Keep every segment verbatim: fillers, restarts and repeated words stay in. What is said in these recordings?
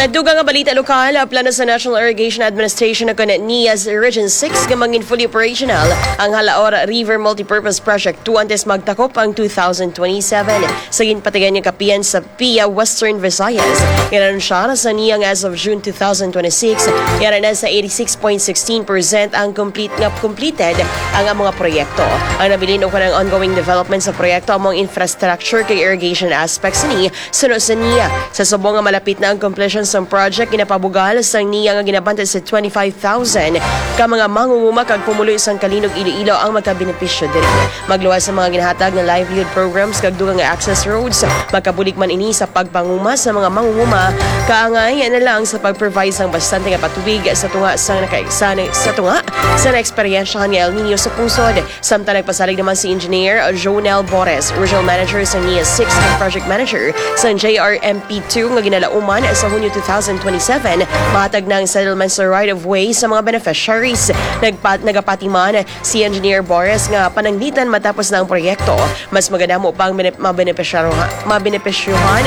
Sa dugang nga balita lokal, plano sa National Irrigation Administration o kon NIAS Region six nga mangin fully operational ang Halaor River Multipurpose Project two antes magtakop ang two thousand twenty-seven. Sa ginpatigan nga kapihan sa PIA Western Visayas, inanunsya na sa NIA nga as of June two thousand twenty-six, yara na sa eighty-six point sixteen percent ang complete nga completed ang among proyekto. Ang nabilin o kanang ongoing development sa proyekto among infrastructure kag irrigation aspects ni suno sa NIA. Sa subong nga malapit na ang completion sang project, ginapabugal sang NIA nga ginabantay sa twenty-five thousand ka mga mangunguma kag pumuluyo sang Calinog, Iloilo ang magkabenepisyo diri. Magluwas sa mga ginahatag nga livelihood programs kag dugang nga access roads, makabulig man ini sa pagpanguma sa mga mangunguma, kaangay na lang sa pag-provide sang bastante nga patubig sa tunga sang naka-, sa, sa tunga sa naeksperyensyahan nga El Niño sa pungsod. Samtang nagpasalig naman si Engineer Jonel Bores, Regional Manager sa NIA six ug Project Manager sa J R M P two nga ginalauman sa Hunyo two thousand twenty-seven, mahatag na ang settlement sa right of way sa mga beneficiaries. Nagpa-, nagapati man si Engineer Bores nga pananglitan matapos na ang proyekto, mas magadamo pa ang bene-, mabenepisyaro-, mabenepisyuhan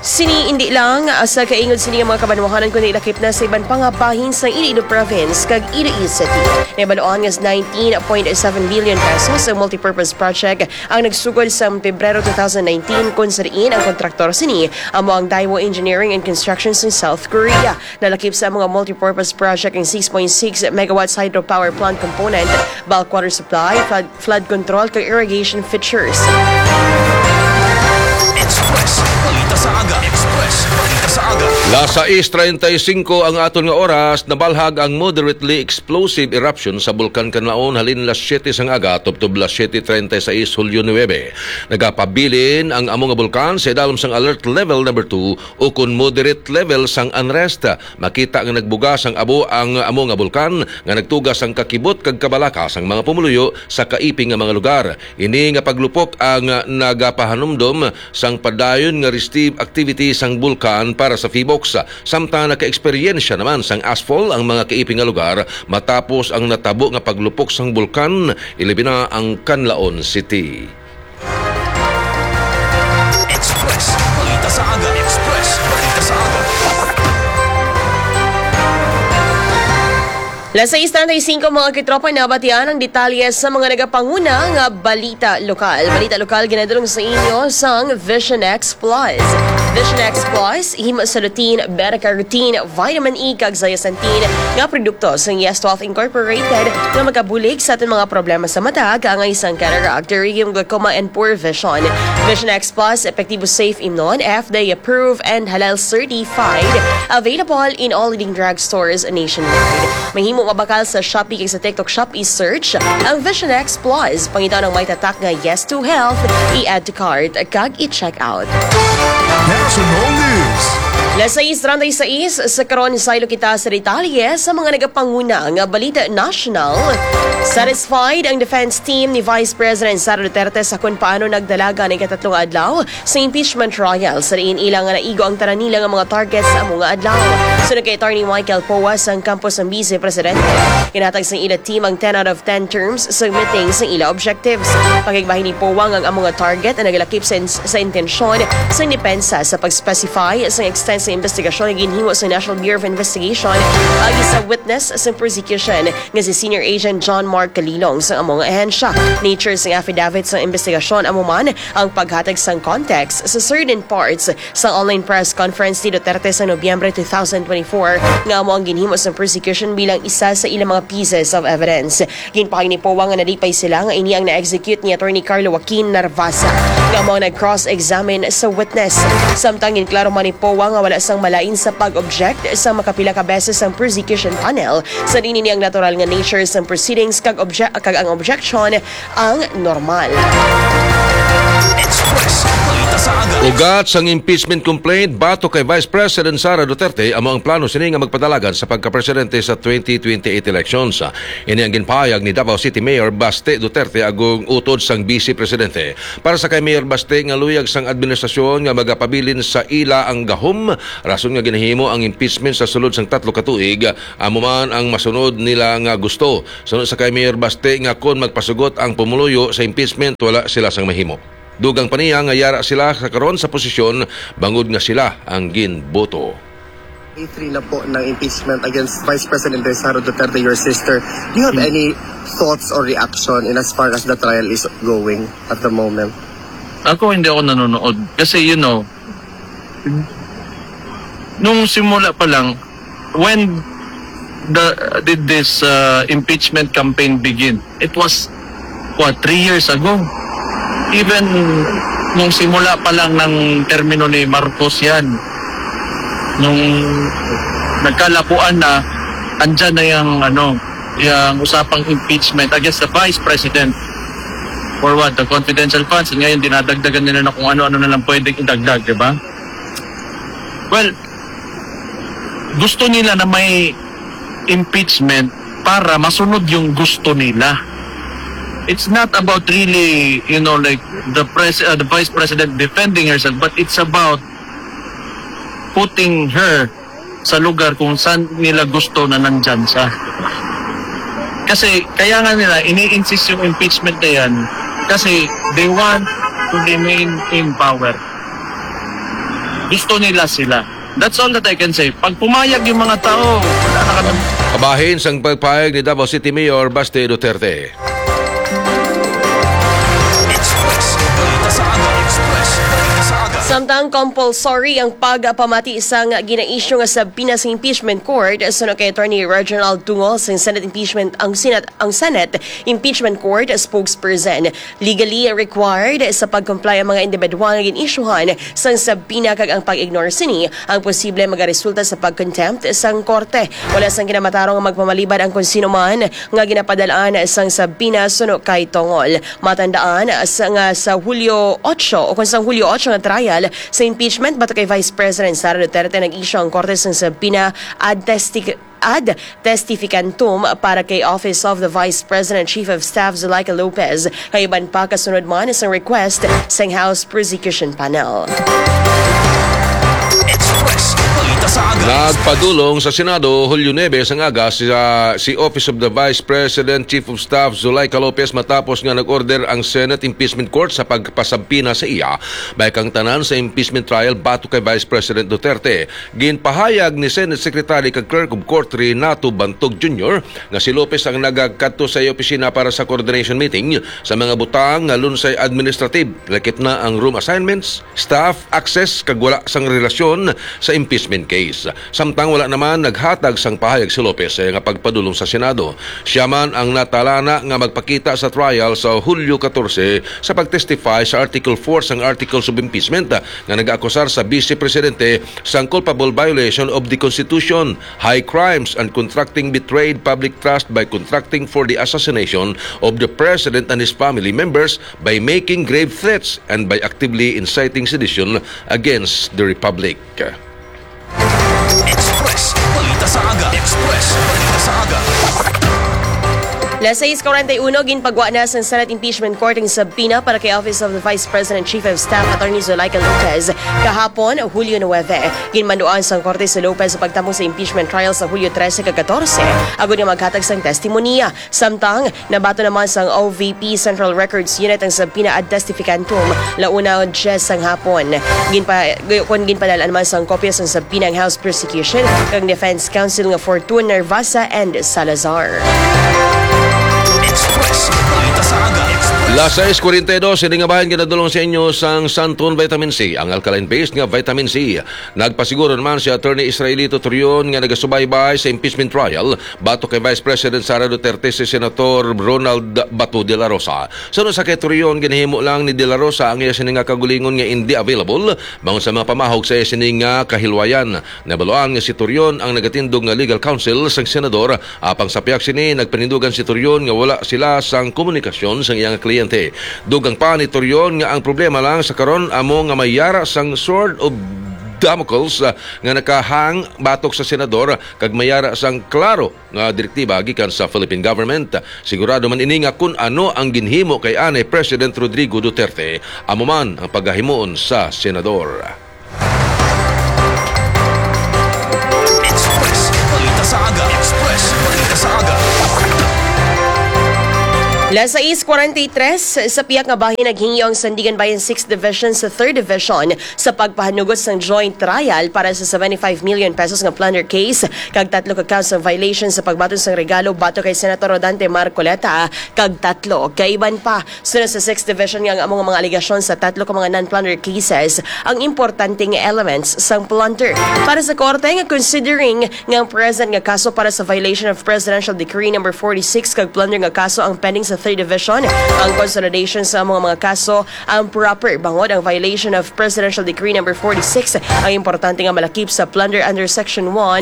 sini, indi lang, ah, sa kaingod sini nga mga kabanwahanan, kundi lakip na sa iban pa nga bahin sang Iloilo Province kag Iloilo City. Nahibaluan nga nineteen point seven billion pesos ang multipurpose project ang nagsugod sa Pebrero two thousand nineteen, kun sa diin ang kontraktor sini amo ang Daiwo Engineering and Construction sa South Korea. Nalakip sa mga multipurpose project ang six point six megawatts hydropower plant component, bulk water supply, flood, flood control, kag irrigation features. Express Balita sa Aga. Express Balita sa Aga. Las sais treinta y cinco ang aton nga oras, nabalhag ang moderately explosive eruption sa Bulkan Kanlaon halin las siete sang aga tubtob las siete treinta y seis, Hulyo nuebe. Nagapabilin ang amo nga bulkan sa idalom sang alert level number two o kon moderate level sang unrest. Makita nga nagbuga sang abo ang amo nga bulkan nga nagtuga sang kakibot kag kabalaka sang mga pumuluyo sa kaiping nga mga lugar. Ini nga paglupok ang nagapahanumdom sang padayon nga restive activity sang bulkan para sa PHIVOLCS, samtang nakaeksperyensya naman sang ashfall ang mga kaiping nga lugar matapos ang natabo nga paglupok sang bulkan, ilabi na ang Kanlaon City. Express Balita sa Aga. Express Balita sa Aga. Las sais treinta y cinco, mga katropa, nabatian ang detalye sa mga nagapanguna nga balita lokal. Balita lokal ginadulong sa inyo sang Vision X Plus. Vision X Plus, himo sa lutein, beta-carotene, vitamin E, kag zeaxanthin nga produkto sang Yes Twelve Incorporated nga makabulig sa aton mga problema sa mata, kaangay sang cataract, pterygium, glaucoma, and poor vision. Vision X Plus, epektibo, safe, imnon, F D A approved, and halal certified. Available in all leading drugstores nationwide. Mahimo mabakal sa Shopee kag sa TikTok Shop. I-search ang Vision X Plus. Pangitaon ang may tatak nga Yes to Health. I-add to cart kag i-check out. National News. Las sais treinta y seis, sa karon, saylo kita sa detalye sa mga nagapanguna nga balita national. Satisfied ang defense team ni Vice President Sara Duterte sa kon paano nagdalagan ang ikatatlong adlaw sa impeachment trial, sa diin ila nga naigo ang tanan nila nga mga target sa amo nga adlaw. Suno kay Attorney Michael Poa sang kampo sang Vice Presidente, ginhatag sang ila team ang ten out of ten terms sa meeting sa ila objectives. Pakigbahin ni Poa nga ang amo nga target ang nagalakip sa, sa intensyon sa depensa sa pag-specify sa extent sa investigasyon nga ginhimo sa National Bureau of Investigation agi sa witness sa prosecution nga si Senior Agent John Mark Kalilong sa amo nga ahensya. Nature sang affidavit sa investigasyon amo man ang paghatag sang context sa certain parts sa online press conference ni Duterte sa Nobyembre two thousand twenty-four, nga amo ang ginhimo sa prosecution bilang isa sa ilang mga pieces of evidence. Ginpahay ni Poa nga nalipay sila nga ini ang na-execute ni Attorney Carlo Joaquin Narvaza, nga amo ang nag-cross-examine sa witness. Samtang ginklaro man ni Poa nga wala sang malain sa pag-object sa makapila ka beses ang prosecution panel, sa diin ini ang natural nga nature sang proceedings kag obje-, kag ang objection ang normal. Express Balita sa Aga. Ugat sang impeachment complaint batok kay Vice President Sara Duterte amo ang plano sini nga magpadalagan sa pagkapresidente sa twenty twenty-eight elections. Ini ang ginpahayag ni Davao City Mayor Baste Duterte agong utod sang Vice Presidente. Para sa kay Mayor Baste nga luyag sang administrasyon nga magapabilin sa ila ang gahom, rason nga ginahimo ang impeachment sa sulod sang tatlo ka tuig, amo man ang masunod nila nga gusto. Suno sa kay Mayor Baste nga kon magpasugot ang pumuluyo sa impeachment, wala sila sang mahimo. Dugang pa niya nga yara sila sa karon sa posisyon bangod nga sila ang ginboto. Day three na po ng impeachment against Vice President Sara Duterte, your sister. Do you have Hmm. any thoughts or reaction in as far as the trial is going at the moment? Ako, hindi ako nanonood. Kasi, you know, nung simula pa lang, when the, did this uh, impeachment campaign begin? It was, what, three years ago? Even nung simula pa lang ng termino ni Marcos yan, nung nagkalapuan na, andyan na yung, ano, yung usapang impeachment against the vice president. For what? The confidential funds. Ngayon, dinadagdagan nila na kung ano-ano na lang pwedeng idagdag, di ba? Well, gusto nila na may impeachment para masunod yung gusto nila. It's not about really, you know, like the pres uh, the vice president defending herself, but it's about putting her sa lugar kung saan nila gusto na nandyan siya. Kasi kaya nga nila ini-insist yung impeachment na yan kasi they want to remain in power. Gusto nila sila. That's all that I can say. Pag pumayag yung mga tao, wala na kami. Kabahin sang pagpayag ni Davao City Mayor Baste Duterte. Express. Balita sa aga. Express. Balita sa aga. Samtang compulsory ang pagpamati sang ginaisyu nga subpoena sa impeachment court, suno kay Attorney Reginald Tungol sang Senate impeachment ang Senate ang Senate impeachment court spokesperson. Legally required sa pag-comply ang mga individual nga gin-isyuhan sang subpoena kag ang pag-ignore sini ang posible magaresulta sa pag-contempt sang korte. Wala sang kinamatarong nga magpamalibad ang kon sino man nga ginapadal-an sang subpoena suno kay Tongol. Matandaan sa, nga sa Hulyo otso o kon sang Hulyo otso nga trial sa impeachment batok kay Vice President Sara Duterte, nag-issue ang korte sang subpoena ad testi ad testificantum para kay Office of the Vice President Chief of Staff Zuleika Lopez, kay iban pa kasunod man sang request sang House Prosecution Panel. Express. Balita sa aga. Nagpadulong sa Senado Hulyo nuebe sang aga si, ah, si Office of the Vice President Chief of Staff Zuleika Lopez matapos nga nag-order ang Senate Impeachment Court sa pagpasabpina sa iya batok kang tanan sa impeachment trial batok kay Vice President Duterte. Ginpahayag ni Senate Secretary kag Clerk of Court Renato Bantog Junior nga si Lopez ang nagakadto sa iya opisina para sa coordination meeting sa mga butang nga lunsay administrative, lakip na ang room assignments, staff access kag wala sang relasyon sa impeachment case. Samtang wala naman naghatag sang pahayag si Lopez sa iya nga pagpadulong sa Senado. Siya man ang natalana nga magpakita sa trial sa Hulyo katorse sa pag-testify sa Article four sang Articles of Impeachment nga nag-akusar sa Vice Presidente sang culpable violation of the Constitution, high crimes, and contracting betrayed public trust by contracting for the assassination of the President and his family members by making grave threats and by actively inciting sedition against the Republic. Express. Balita sa aga. Express. Balita sa aga. Las sais cuarenta y uno, ginpagwa na sang Senate Impeachment Court ang subpoena para kay Office of the Vice President Chief of Staff Attorney Zuleika Lopez kahapon, Hulyo nuebe. Ginmanduan sang korte si Lopez sa pagtambong sa impeachment trial sa Hulyo trese kag katorse, agod nga maghatag sang testimonya. Samtang, nabaton naman sang O V P Central Records Unit ang subpoena ad testificantum, launa dyes sang hapon. Ginpa, kon ginpadal-an man sang kopya sang subpoena ang House Prosecution kag Defense Counsel nga Fortune, Nervasa and Salazar. Express. Balita sa aga. Express. Las sais cuarenta y dos, ini nga bahin ginadulong sa inyo sang Santon Vitamin C, ang alkaline-based nga vitamin C. Nagpasiguro naman si Attorney Israelito Torion nga nagasubaybay sa impeachment trial batok kay Vice President Sara Duterte si Senator Ronald Bato de la Rosa. Suno sa kay Torion, ginahimo lang ni de la Rosa ang iya sini nga kagulingon nga indi available bangon sa mga pamahog sa iya sini nga kahilwayan. Nabaluan nga si Torion ang nagatindog nga legal counsel sang senador. Apang sa pihak sini, nagpanindugan si Torion nga wala sila sang komunikasyon sang iyang kliyente. Dugang pa ni Torion nga ang problema lang sa karon amo nga may yara sang Sword of Damocles, ah, nga nakahang batok sa senador kag may yara sang klaro nga direktiba gikan sa Philippine government. Sigurado man ini nga kun ano ang ginhimo kay anay President Rodrigo Duterte, amo man ang pagahimuon sa senador. Express. Balita sa aga. Express. Balita sa aga. Las sais cuarenta y tres, sa pihak nga bahin naghingyo ang Sandiganbayan Sixth Division sa Third Division sa pagpahanugot sang joint trial para sa seventy-five million pesos nga plunder case kag tatlo ka counts sang violation sa pagbaton sang regalo batok kay Senator Rodante Marcoleta kag tatlo ka iban pa. Sunod sa Sixth Division nga ang amo nga mga alegasyon sa tatlo ka mga non-plunder cases ang importante nga elements sang plunder. Para sa korte nga considering nga ang present nga kaso para sa violation of Presidential Decree number forty-six kag plunder nga kaso ang pending sa Third Division, ang consolidation sa mga mga kaso ang proper bangod ang violation of Presidential Decree number forty-six ang importante nga malakip sa plunder under Section one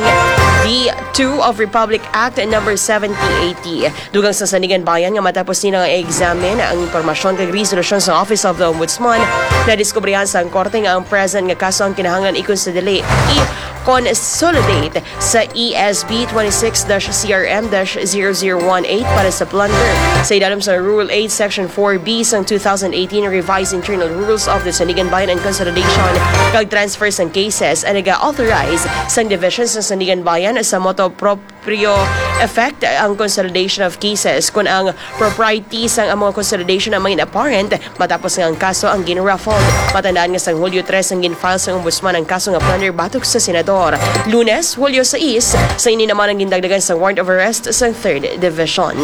B two of Republic Act number seventy eighty. Dugang sa Sandiganbayan nga matapos nila nga i-examine ang impormasyon kag resolusyon sa Office of the Ombudsman, nadiskubrihan sa korte nga ang present nga kaso ang kinahanglan i-consolidate, i-consolidate sa E S B twenty-six dash C R M dash zero zero one eight para sa plunder. Sa ilalom sa Rule eight, Section four B sang two thousand eighteen Revised Internal Rules of the Sandiganbayan and Consolidation kag Transfer sang Cases, ang naga-authorize sang Division sa Sandiganbayan sa motu proprio effect ang consolidation of cases kon ang propriety sang amo nga consolidation ang main apparent matapos nga ang kaso ang gin-raffled. Matandaan nga sang Hulyo tres ang gin-file sang Ombudsman ang kaso nga plunder batok sa Senador. Lunes, Hulyo sais, sa ini naman ang gindagdagan sang warrant of arrest sang Third Division.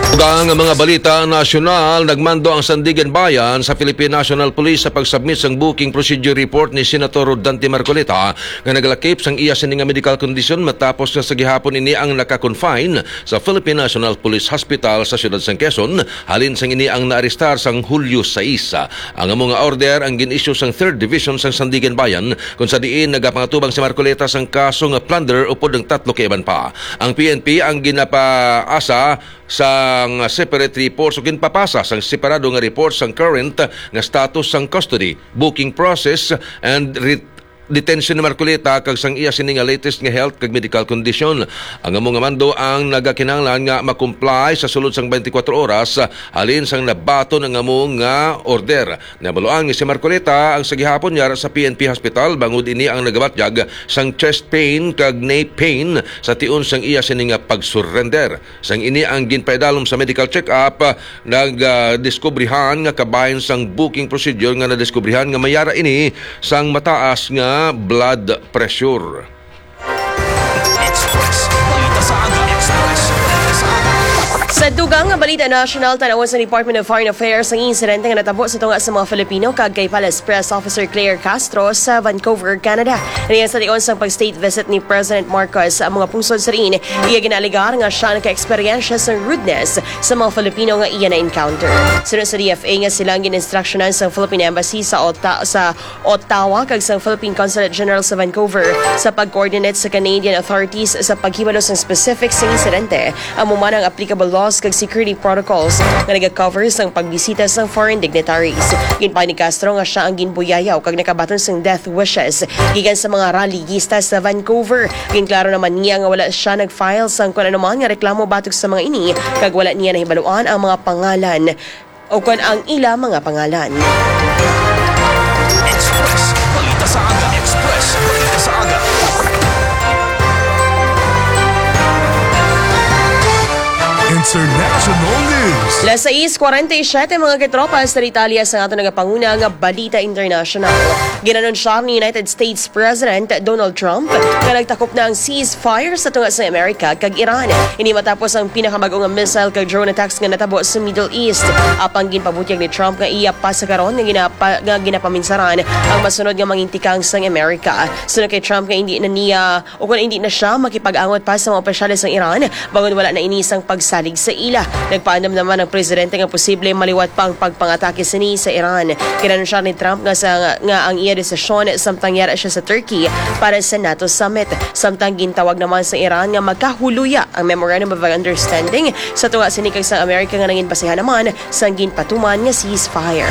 Ug ang mga balita nasyonal, nagmando ang Sandiganbayan sa Philippine National Police sa pag-submit sang booking procedure report ni Senator Rodante Marcoleta nga nagalakip sang iya sini nga medical condition matapos nga sa gihapon ini ang naka-confine sa Philippine National Police Hospital sa siyudad sang Quezon, halin sang ini ang naarestar sang Hulyo sais. Ang amo nga order ang gin-issue sang Third Division sang Sandiganbayan, kung sa diin nagapangatubang si Marcoleta sang kaso nga plunder upod ang tatlo ka iban pa. Ang P N P ang ginapaasa sang separate reports o ginpapasa sang separado nga report sang current nga status sang custody, booking process, and re- detention ni Marcoleta kag sang iya sini nga latest nga health kag medical condition. Ang amo nga mando ang nagakinahanglan nga ma-comply sa sulod sang twenty-four oras, ah, halin sang nabaton ang amo nga order. Nabaluan nga si Marcoleta ang sa gihapon yara sa P N P hospital bangod ini ang nagabatyag sang chest pain kag knee pain sa tion sang iya sini nga pag-surrender. Sang ini ang ginpaidalom sa medical check-up, ah, nag, ah, diskubrihan nga kabahin sang booking procedure nga nadiskubrihan nga may yara ini sang mataas nga blood pressure. Express. Balita sa aga. Express. Balita sa aga. Sa dugang nga balita nasyonal, tan-awon sa Department of Foreign Affairs ang insidente nga natabo sa tunga sa mga Filipino kag kay Palace Press Officer Claire Castro sa Vancouver, Canada. Niya sa tion sang pag-state visit ni President Marcos sa mga pungsod sa diin, iya ginaalegar nga siya naka-eksperyensya sa rudeness sa mga Filipino nga iya na-encounter. Sunod sa D F A nga sila ang gin-instructionan sa Philippine Embassy sa Ota-, sa Ottawa kag sa Philippine Consulate General sa Vancouver sa pag-coordinate sa Canadian authorities sa paghibalo sang specific sa insidente, amo man ang applicable laws kag security protocols nga naga-cover sang pagbisita sang foreign dignitaries. Ginpahayag ni Castro nga siya ang ginbuyayaw kag nakabaton sang death wishes gikan sa mga rallyista sa Vancouver. Ginklaro naman niya nga wala siya nag-file sang kon anuman nga reklamo batok sa mga ini, kag wala niya nahibaluan ang mga pangalan o kon ang ila mga pangalan. Express. Balita sa aga. Express. Balita sa aga. International news. Las sais cuarenta y siete, mga katropa, sa detalye sa aton nagapanguna nga balita international. Ginanunsyar ni United States President Donald Trump nga nagtakop na ang ceasefire sa tunga sa Amerika kag Iran. Ini matapos ang pinakamag-o nga missile kag drone attacks nga natabo sa Middle East. Apang ginpabutyag ni Trump nga iya pa sa karon nga ginapa-, nga ginapaminsaran ang masunod nga mangin tikang sang Amerika. Sunod kay Trump nga hindi na niya o kon hindi na siya makipag-angot pa sa mga opisyales sang Iran, bangod wala na ini sang pagsalig sa ila. Nagpaandam naman ang presidente nga posible maliwat pa ang pagpangatake sini sa Iran. Ginanunsar ni Trump nga sa, nga ang iya desisyon samtang yara siya sa Turkey para sa NATO summit. Samtang gintawag naman sa Iran nga magkahuluya ang Memorandum of Understanding sa tunga sini kag sa Amerika nga nangin basehan naman sang ginpatuman nga ceasefire.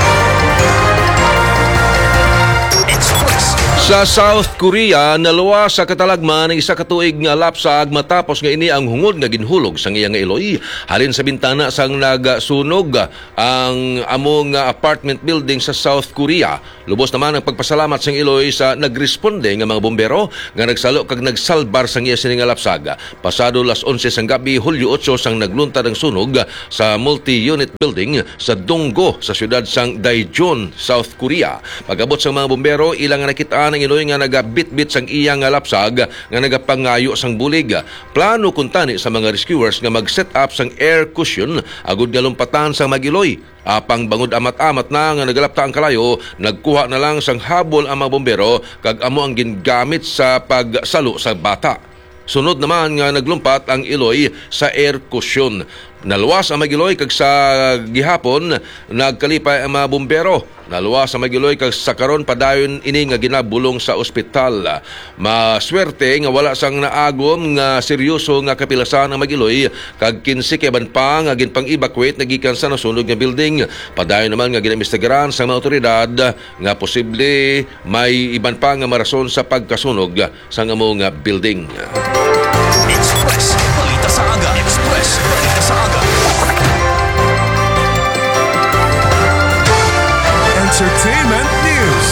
Express. Sa South Korea, naluwas sa katalagman ang isa ka tuig nga lapsag matapos nga ini ang hungod nga ginhulog sang iya nga iloy halin sa bintana sang nagsunog ang amo nga apartment building sa South Korea. Lubos naman ang pagpasalamat sang iloy sa nagresponde nga mga bombero nga nagsalo kag nagsalbar sang iya sini nga lapsag. Pasado las onse sang gabi, Hulyo otso, sang nagluntad ang sunog sa multi-unit building sa Donggo sa siyudad sang Daejeon, South Korea. Pag-abot sang mga bombero, ila nga nakit-an ang iloy nga nagabitbit sang iya nga lapsag nga nagapangayo sang bulig. Plano kuntani sa mga rescuers nga mag-set up sang air cushion agud nga lumpatan sang mag-iloy. Apang bangod amat-amat na nga nagalapta ang kalayo, nagkuha na lang sang habol ang mga bombero kag amo ang gingamit sa pagsalo sa bata. Sunod naman nga naglumpat ang iloy sa air cushion. Naluwas ang mag-iloy kag sa gihapon nagkalipay ang mga bombero. Naluwas ang mag-iloy kag sa karon padayon ini nga ginabulong sa ospital. Maswerte nga wala sang naagom nga seryoso nga kapilasan ang mag-iloy kag kinse ka iban pa nga ginpang-evacuate na gikan sa nasunog nga building. Padayon naman nga ginaimbestigaran sa mga awtoridad nga posible may iban pa nga marason sa pagkasunog sang amo nga building. Express Balita sa Aga. Express Balita sa Aga. Entertainment News.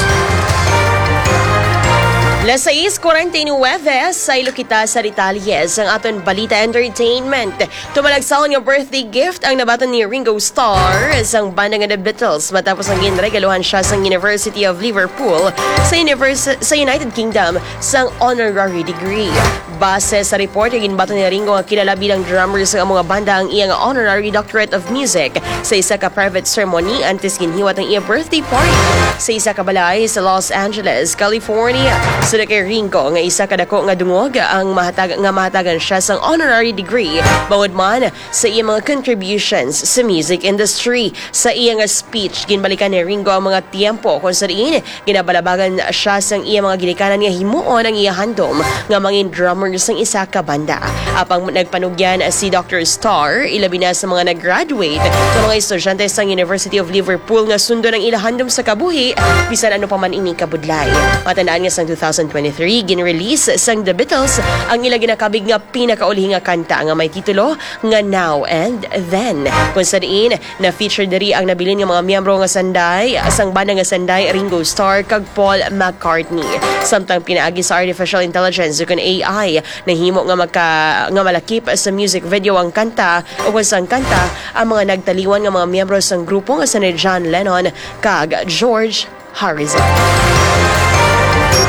Las sais cuarenta y nueve, saylo kita sa detalye sang aton balita entertainment. Tumalagsahon nga birthday gift ang nabaton ni Ringo Starr sang banda nga The Beatles matapos ang ginregaluhan siya sang University of Liverpool sa univers-, sa United Kingdom sang honorary degree. Base sa report, ginbaton ni Ringo nga kilala bilang drummer sa amo nga banda ang iya nga honorary doctorate of music sa isa ka private ceremony antes ginhiwat ang iya birthday party sa isa ka balay sa Los Angeles, California. Sud kay Ringo nga isa ka dako nga dungog ang mahatag-, nga mahatagan siya sang honorary degree bangod man sa iya mga contributions sa music industry. Sa iya nga speech, ginbalikan ni Ringo ang mga tiyempo kung sa diin ginabalabagan siya sang iya mga ginikanan nga himuon ang iya handom nga mangin drummer sang isa ka banda. Apang nagpanugyan si Doctor Starr, ilabi na sa mga nag-graduate nga mga estudyante sang University of Liverpool nga sundon ang ila handom sa kabuhi, bisan ano pa man ini kabudlay. Matandaan nga sang two thousand twenty-three, gin-release sang The Beatles ang ila ginakabig nga pinakauli nga kanta nga may titulo nga Now and Then, kung sa diin na-feature diri ang nabilin nga mga miyembro nga sanday, sang banda nga sanday, Ringo Starr kag Paul McCartney. Samtang pinaagi sa artificial intelligence ukon A I, nahimo nga maka-, nga malakip sa music video ang kanta, o kung sang kanta, ang mga nagtaliwan nga mga miyembro sang grupo nga sina John Lennon kag George Harrison.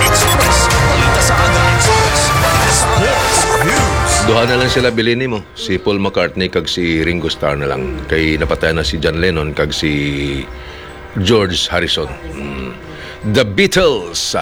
Express. Balita sa Aga. Express. Balita sa Aga. Sports News. Duha na lang sila bilin nimo, si Paul McCartney kag si Ringo Starr na lang. Kay napatay na si John Lennon kag si George Harrison. Mm. The Beatles.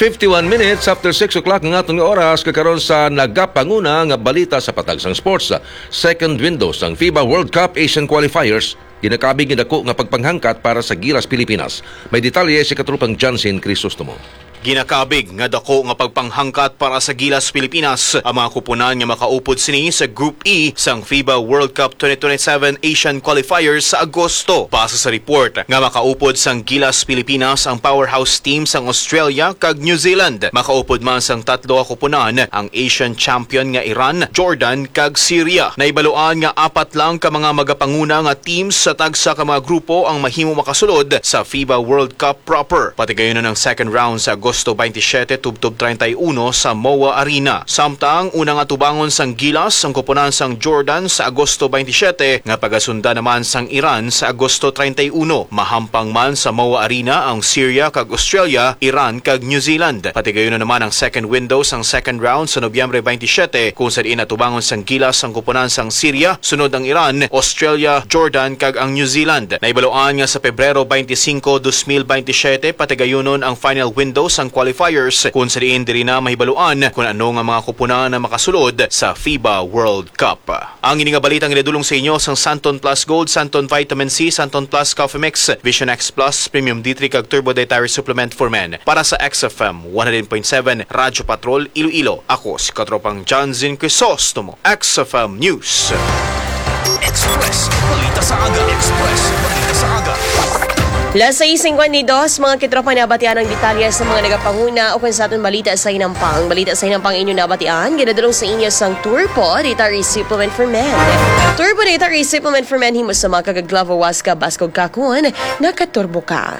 Fifty-one minutes after six o'clock ang aton nga oras, kag karon sa nagapanguna nga balita sa patag sang sports. Second window sang fiba World Cup Asian Qualifiers. Ginakabig nga dako nga pagpanghangkat para sa Gilas Pilipinas. May detalye si Katropang Johnson Crisostomo. Ginakabig nga dako nga pagpanghangkat para sa Gilas Pilipinas ang mga kupunan nga makaupod sini sa Group E sang fiba World Cup twenty twenty-seven Asian Qualifiers sa Agosto. Base sa report nga makaupod sang Gilas Pilipinas ang powerhouse team sang Australia kag New Zealand. Makaupod man sang tatlo ka kupunan ang Asian champion nga Iran, Jordan, kag Syria. Nahibaluan nga apat lang ka mga magapanguna nga teams sa tagsa ka mga grupo ang mahimo makasulod sa fiba World Cup proper. Patigayunon ang second round sa Agosto twenty-seven tubtob treinta y uno sa MOA Arena. Samtang una nga tubangon sang Gilas ang kupunan sang Jordan sa Agosto twenty-seven, nga pagasundan naman sang Iran sa Agosto treinta y uno. Mahampang man sa MOA Arena ang Syria kag Australia, Iran kag New Zealand. Patigayunon naman ang second window sang second round sa Nobyembre twenty-seven, kung sa diin natubangon sang Gilas ang kupunan sang Syria, sunod ang Iran, Australia, Jordan kag ang New Zealand. Nahibaluan nga sa Pebrero twenty-five, dos mil twenty-seven, patigayunon ang final window sang qualifiers, kung sa diin diri na mahibaluan kung ano nga mga kupunan ang makasulod sa fiba World Cup. Ang ini nga balita ang ginadulong sa inyo sang Santon Plus Gold, Santon Vitamin C, Santon Plus Coffee Mix, Vision X Plus, Premium D three kag Turbo Dietary Supplement for Men. Para sa X F M one hundred point seven Radyo Patrol Iloilo, ako si Katropang Johnson Crisostomo, X F M News. Express Balita sa Aga. Express Balita sa Aga. Las sais cincuenta y dos, mga kitropa, nabatian ang detalye sa mga nagapanguna o kung sa aton balita sa hinampang. Balita sa hinampang inyo nabatian, ginadulong sa inyo sang Turpo Dietary Supplement for Men. Turpo Dietary Supplement for Men, himo sa mga kagaglavo, was ka, baskog ka, kun nakaturbo ka.